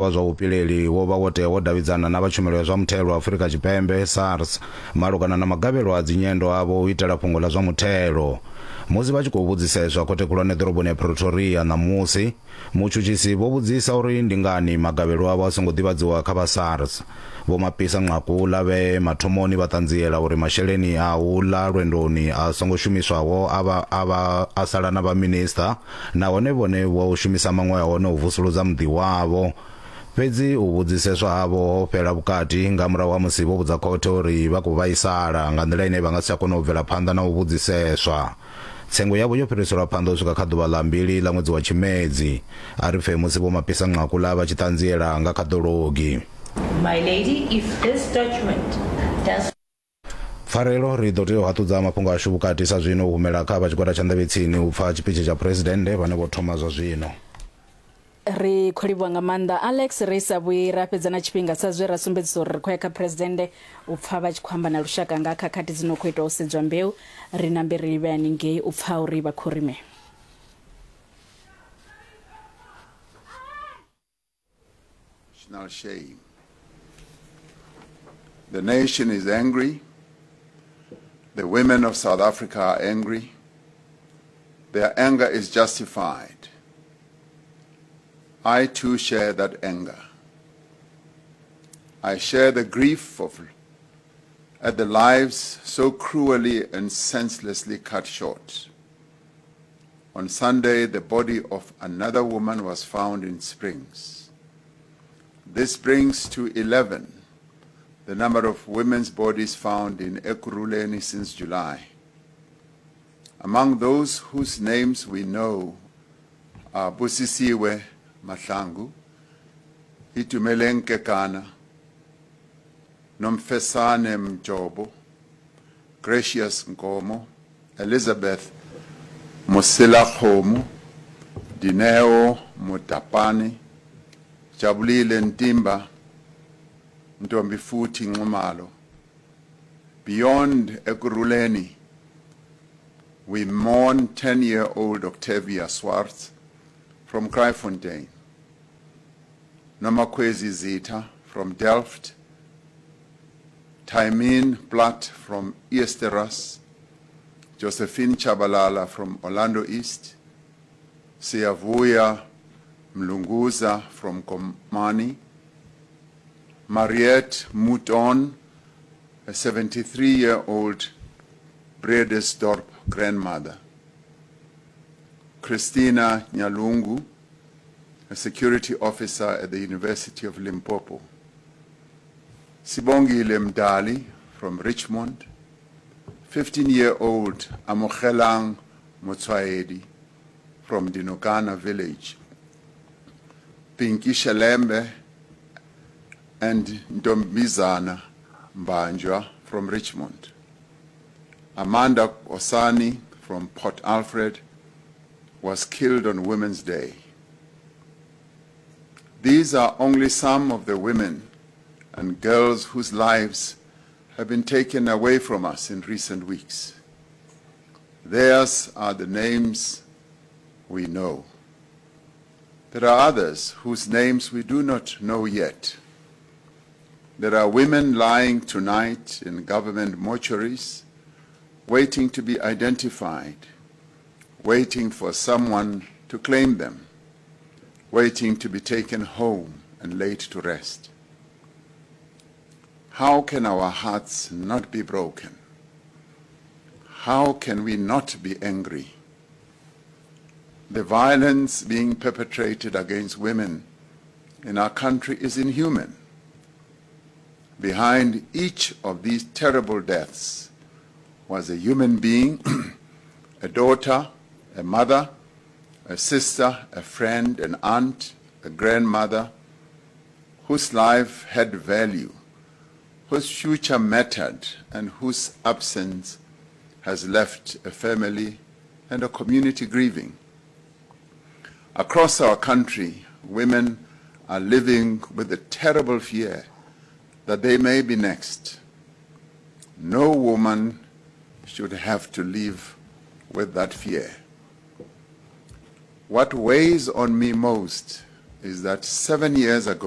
Wa zwa vhupileli wo vha wo tea wo davhidzana na vha tshumelo ya zwa muthelo Afrika Tshipembe, SARS, malugana na magavhelo a dzinyendo avho u itela fhungo ḽa zwa muthelo. Musi vha tshi khou vhudziseswa khothe khulwane ḓoroboni ya Pretoria ṋamusi, mutshutshisi vho vhudzisa uri ndi ngani magavhelo avho a songo ḓivhadziwa kha vha SARS. Vho Mapisa Nqakula vhe mathomoni vha ṱanziela uri masheleni a u ḽa lwendoni a songo shumiswaho a vha a vha a sala na vha minisiṱa nahone vhone vho shumisa maṅwe a hone u vusuludza muḓi wavho. Fhedzi u vhudziseswa havho ho fhela vhukati nga murahu ha musi vho vhudza khothe uri vha khou vhaisala nga nḓila ine vha nga si tsha kona u bvela phanḓa na u vhudziseswa. Tsengo yavho yo fhiriselwa phanḓa u swika kha ḓuvha ḽa mbili ḽa ṅwedzi wa Tshimedzi. A ri pfe musi Vho Mapisa Nqakula vha tshi ṱanziela nga kha ḓologi. My Lady, if this judgment does. Pfarelo, Ri ḓo tea u haṱudza mafhungo ashu vhukati sa zwino u humela kha vha tshigwada tsha nḓevhetsini u pfa tshipitshi tsha Phresidennde vhane vho thoma zwa zwino. Ri khou livhuwa nga maanḓa Alex. Ri sa vhuyi ra fhedza na tshifhinga sa zwe ra sumbedzisa uri ri khou ya kha Phresidennde u pfa vha tshi khou amba na lushaka nga khakhathi dzi no khou itwa u sedzwa mbeu. Ri nambe ri livhe haningei u pfa uri vha khou ri mini. National shame. The nation is angry. The women of South Africa are angry. Their anger is justified. I too share that anger. I share the grief of at the lives so cruelly and senselessly cut short. On Sunday, the body of another woman was found in Springs. This brings to 11 the number of women's bodies found in Ekurhuleni since July. Among those whose names we know are Busisiwe Mahlangu, Itumeleng Kekana, Nomfesane Mjobo, Gracious Nkomo, Elizabeth Moselakgomo, Dineo Motapane, Jabulile Ntimba, Ntombifuthi Nxumalo. Beyond Ekurhuleni, we mourn 10-year-old Octavia Swartz from Kraaifontein, Nomakhwezi Zitha from Delft, Taimin Platt from Eersterust, Josephine Chabalala from Orlando East, Siyavuya Mlunguza from Komani, Mariette Mouton, a 73-year-old Bredasdorp grandmother, Christina Nyalungu, a security officer at the University of Limpopo, Sibongile Mdali from Richmond, 15-year-old Amogelang Motswaedi from Dinokana village, Pinky Shelembe and Ntombizana Mbanjwa from Richmond, Amanda Osani from Port Alfred was killed on Women's Day. These are only some of the women and girls whose lives have been taken away from us in recent weeks. Theirs are the names we know. There are others whose names we do not know yet. There are women lying tonight in government mortuaries, waiting to be identified, waiting for someone to claim them, waiting to be taken home and laid to rest. How can our hearts not be broken? How can we not be angry? The violence being perpetrated against women in our country is inhuman. Behind each of these terrible deaths was a human being, a daughter, a mother, a sister, a friend, an aunt, a grandmother, whose life had value, whose future mattered, and whose absence has left a family and a community grieving. Across our country, women are living with the terrible fear that they may be next. No woman should have to live with that fear. What weighs on me most is that 7 years ago,